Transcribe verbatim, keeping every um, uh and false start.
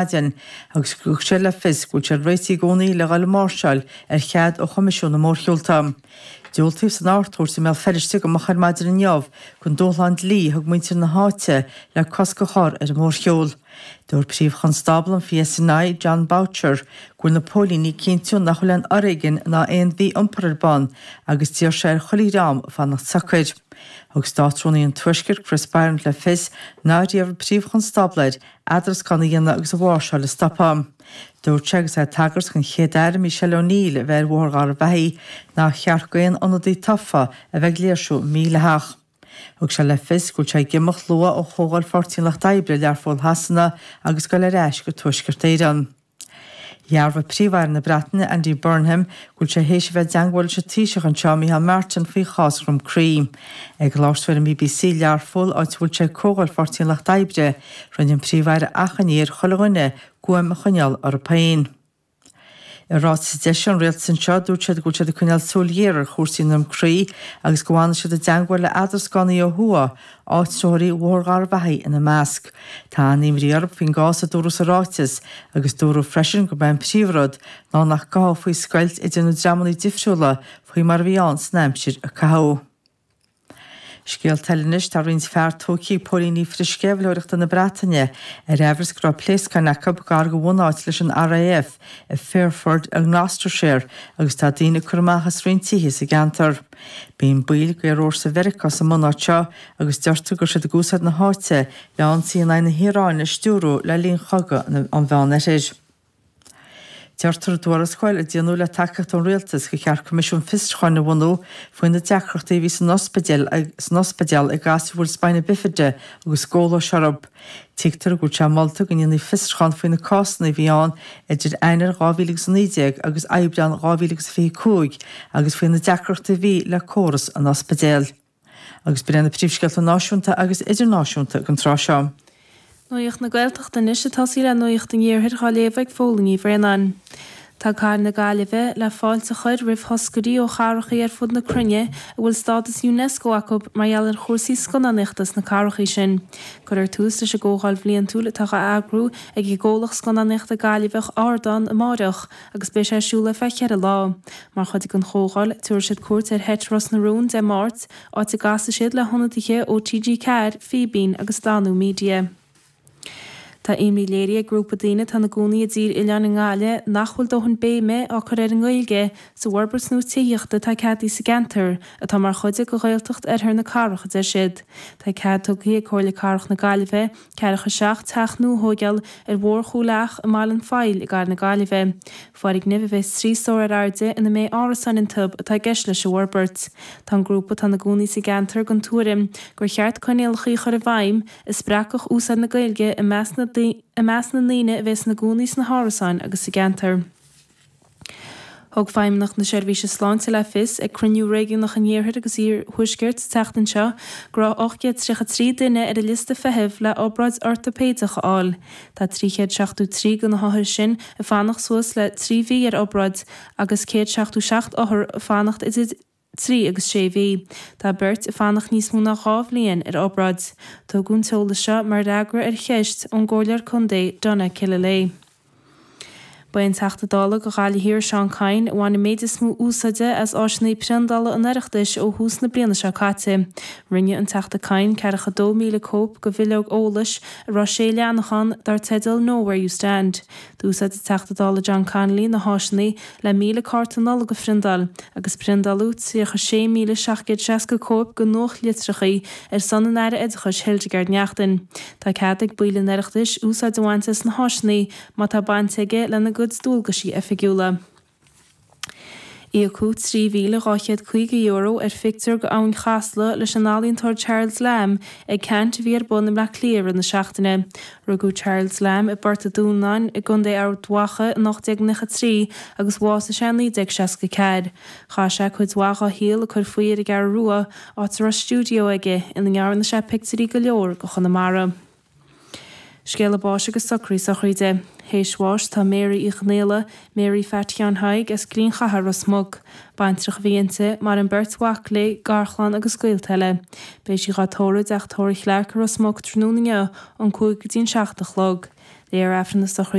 maidin agus thug sé le fios go bhfuil siad réitithe i gcónaí le dhul ag máirseáil ar chead ó Choimisiún na Mórshiúlta. Diúltaíodh san Ard-Chúirt i mBéal Feirste go moch ar maidin inniu don dúshlán dlí a thug muintir na háite le cosc a chur ar an mórshiúl. Dúirt Príomh-Chonstábla an PSNI, Jon Boutcher, go bhfuil na póilíní ag cinntiú nach bhfuil aon fhoréigean ná aon mhí-iompar ar bun agus d'iarr sé ar chuile dhream fanacht socair. Thug Státrúnaí an Tuaiscirt Chris Bryant le fios nár iarr an Príomh-Chonstábla air eadarascán a dhéanamh agus an mháirseáil a stopadh. Dúirt sé agus é ag tagairt don Chéad-Aire Michelle O'Neill a bheith ar Bhóthar Gharbhachaidh nár cheart d'aon ionadaí tofa a bheith ag léirsiú mídhleathach. Thug sé le fios go bhfuil sé ag imeacht luath ó Chomhdháil Pháirtí an Lucht Oibre i Learpholl Shasana agus dul ar ais go Tuaisceart Éireann. Dhearbhaigh Príomh-Aire na Breataine Andy Burnham go bhfuil sé théis a bheith i dteagmháil leis an Taoiseach anseo Micheál Martin faoi chás Dhroim Crí. Ag labhairt dó ar an BBC Learpholl áit a bhfuil sé ag Comhdháil Pháirtí an Lucht Oibre, rinne an Príomh-Aire achainí ar chuile dhuine guaim a choinneáil orthu féin. I ráiteas a d'eisigh an rialtas anseo dúirt siad go bhfuil siad ag coinneáil súil ghéar ar chúrsaí i nDroim Crí agus go bhfanfaidh siad i dteagmháil le eadrascánaí ó thuaidh, áitritheoirí Bhóthar Gharbhachaidh ina measc. Tá an-imní orthu faoin gcás a dúradh sa ráiteas agus dúradh freisin gurb é an príomhrud ná nach gcothófaí scoilt idir na dreamanna difriúla faoi mar a bhí ann san aimsir a caitheadh. Scéalta eile anois tá roinnt fear tógtha ag póilíní frithsceimhlitheoireachta na Breataine ar amhras go raibh pléascáin acu gar do bhunáit leis an RAF i Fairford i nGloucestershire agus tá daoine ag cur amach as roinnt tithe sa gceantar. Bíonn baill d'aerfhórsa Mheiriceá sa mbunáit seo agus deirtear go raibh siad ag úsáid na háite le ionsaí in aghaidh na hIaráine a stiúradh le linn chogadh an Mheánoirthir. Deirtear i dtuarascáil a déanadh le tacaíocht ón rialtas gur cheart Coimisiún Fiosrúcháin a bhunú faoi na deacrachtaí a bhí san ospidéal san ospidéal ag gasúir a bhfuil spina bifida agus scólais orthu. Tuigtear go bhfuil sé molta go ndéanfaí fiosrúchán faoi na cásanna a bhí ann idir Eanáir dhá mhíle agus a naoi déag agus Aibreán dhá mhíle agus fiche cúig agus faoi na deacrachtaí a bhí le córas an ospidéil. Agus b'in na príomhscéalta náisiúnta agus idirnáisiúnta don tráth seo. Nuacht na Gaeltachta anois ag tosaí le Nuacht an Iarthair á léamh ag Fódhla Ní Bhraonáin. Tá Cathair na Gaillimhe le fáilte a chur roimh thoscairí ó chathracha ar fud na cruinne a bhfuil stádas UNESCO acu mar gheall ar chúrsaí scannánaíochta sna cathracha sin. Cuirfear tús leis an gcomhdháil bhliantúil atá á eagrú ag an gcomhlacht scannánaíochta Gaillimheach Ardán amárach agus beidh sé ar siúl ar feadh ceithre lá. Mar chuid den chomhdháil tabharfaidh siad cuairt ar sheit Ros na Rún Dé Máirt, áit a gcasfaidh siad le hionadaithe ó TG Ceathair, Fíbín agus Danú Media. Tá imní léirithe ag grúpa daoine atá ina gcónaí i dTír Oileáin i nGaillimh nach bhfuil dóthain béime á cur ar an nGaeilge sa bhforbairt nua tithíochta atá ceadaithe sa gceantar, atá mar chuid de Ghaeltacht Oirthear na Cathrach, a deir siad. Tá cead tugtha ag Comhairle Cathrach na Gaillimhe ceathracha seacht teach nua a thógáil ar Bhóthar Chúil Each i mBaile an Phoill i gCathair na Gaillimhe. Foirgnimh a bheas trí stór ar airde ina mbeidh árasáin iontu atá i gceist leis an bhforbairt. Tá an grúpa atá ina gcónaí sa gceantar den tuairim gur cheart coinníollacha a chur i bhfeidhm a spreagfadh úsáid na Gaeilge i measc na i measc na ndaoine a bheas ina gcónaí sna hárasáin agus sa gceantar. Thug Feidhmeannacht na Seirbhíse Sláinte le fios ag cruinniú réigiúnach an Iarthair agus Iarthuaiscirt sa tseachtain seo go raibh ocht gcéad tríocha trí duine ar an liosta feithimh le obráid ortaipéideach a fháil. Tá trí chéad seachtó trí de na hothair sin ag fanacht suas le trí mhí ar obráid agus céad seachtó seacht othar ag fanacht idir trí agus sé mhí. Tá beirt ag fanacht níos mó ná dhá bhliain ar obráid. Tugadh an t-eolas seo mar fhreagra ar cheist ón gComhairleoir Contae Donna Killilea. Ba é an Teachta Dála do Ghaillimh Thiar Seán Kyne a bhain an méid is mó úsáide as áiseanna priondála an Oireachtais ó thús na bliana seo caite. Rinne an Teachta Kyne ceathracha dó míle cóip de bhileog eolais a raibh sé leathanach ann dar teideal Know Where You Stand. D'úsáid an Teachta Dála John Connolly na háiseanna le míle cárta Nollag a phriondáil, agus priondáladh tríocha sé míle seacht gcéad seasca cóip de nuachtlitreacha ar son an Aire Oideachais Hildegarde Naughton. Tá cead ag baill an Oireachtais úsáid a bhaint as na háiseanna má tá baint aige lena gcuid dualgaisí oifigiúla. Íocadh trí mhíle dhá chéad caoga euro ar phictiúr d'Abhainn Chasla leis an ealaíontóir Charles Lamb ag ceant a bhí ar bun i mBleá Cliath i rith na seachtaine. Rugadh Charles Lamb i bPort an Dúnáin i gContae Ard Mhacha in ocht déag nócha trí agus bhásaigh sé in naoi déag seasca ceathair. Chaith sé cuid mhaith dá shaol ag cur faoi ar an gCeathrú Rua, áit a raibh stiúideo aige ina ndearna sé pictiúirí go leor de Chonamara. Scéala báis agus socraí sochraide. Théis bháis tá Mary Uí Chonaola, Mary Phat Sheáin Thaidhg as Grian Chathair Ros Muc. Baintreach a bhí inti, maireann beirt mhac léi, garchlann agus gaolta eile. Beidh sí dhá tórramh i dteach tórraimh Chlarke i Ros Muc tráthnóna inniu ón cúig go dtí an seacht a chlog. Léifear Aifreann na sochraide